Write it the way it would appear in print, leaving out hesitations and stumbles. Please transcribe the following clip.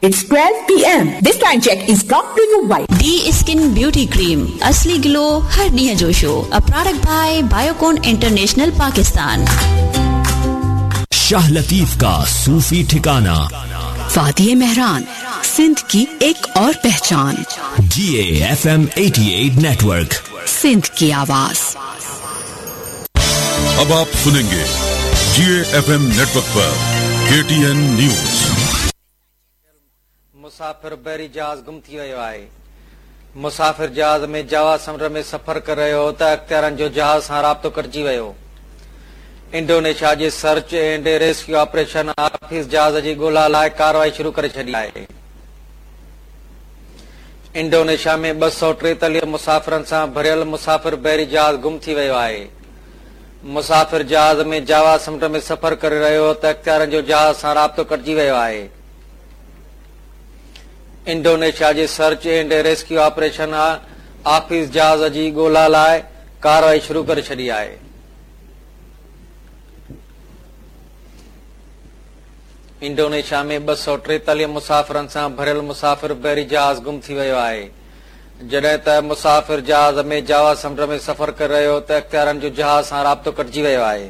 It's 12 PM. This time check is brought to you by. The skin beauty cream اصلي گلو هر ڏينهن جو show a product by Biocon international Pakistan. Shah Latif का सूफी ठिकाना वादी मेहरान सिंध की एक और पहचान G A F M 88 network Sindh की आवाज अब आप सुनेंगे जी एफ एम नेटवर्क पर के टी एन न्यूज مسافر بحري جهاز گم ٿي ويو آهي. مسافر جهاز ۾ جاوا سمنڊ ۾ سفر ڪري رهيو هو ته اختيارين جو جهاز سان رابطو ڪٽجي ويو. انڊونيشيا جي search and rescue operation office جهاز جي ڳولا لاء ڪارروائي شروع ڪري ڇڏي آهي. انڊونيشيا ۾ 243 مسافرن سان ڀريل مسافر بحري جهاز گم ٿي ويو آهي. مسافر جهاز ۾ جاوا سمنڊ ۾ سفر ڪري رهيو هو ته اختيارين جو جهاز سان رابطو ڪٽجي ويو آهي. انڊونيشيا جي search and rescue operation office جهاز جي ڳولا لاء ڪارروائي شروع ڪري ڇڏي آهي. انڊونيشيا ۾ 243 مسافرن سان ڀريل مسافر بحري جهاز گم ٿي ويو آهي. جڏهن ته مسافر جهاز ۾ جاوا سمنڊ ۾ سفر ڪري رهيو هو ته اختيارين جو جهاز سان رابطو ڪٽجي ويو آهي.